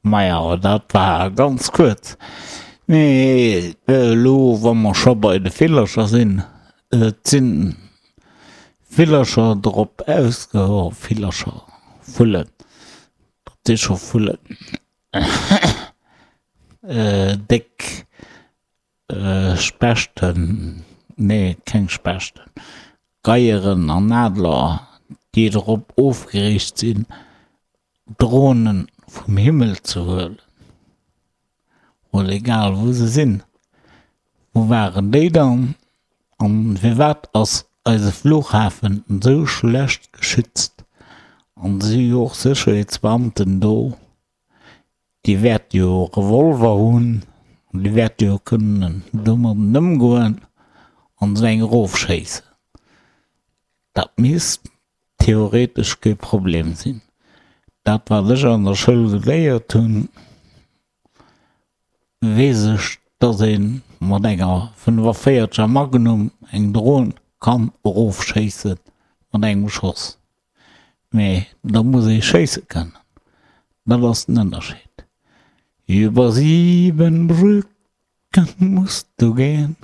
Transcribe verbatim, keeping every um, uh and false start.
Majo, dat war ganz kuerz. Mee elo, wa mer scho bei de Villercher sinn, et si Villercher drop ausge-, Villercher, Vullen, dat si scho Vullen, déck Spechten, nee, keng Spechten, Geieren an Adler, déi drop ofgeriicht sinn, Dronen vum Himmel ze huelen, oder egal wou se sinn. Wou waren déi dann? An firwat ass eise Flughafen esou schlecht geschützt? An si jo och Sécherheetsbeamten do, déi wäerte jo Revolver hunn, an déi wäerte jo kënnen domadden ëmgoen an esou eng erofschéissen. Dat misst theoretesch kee Problem sinn. Dat wat ech an der Schoul geléiert hunn, weess ech, dass ee mat enger fënnefaféierzeger Magnum eng Dron kann erofschéisse mat engem Schoss. Mee da muss ee schéisse kënnen. Dat ass den Ënnerscheed. Über sieben Brücken musst du gehen.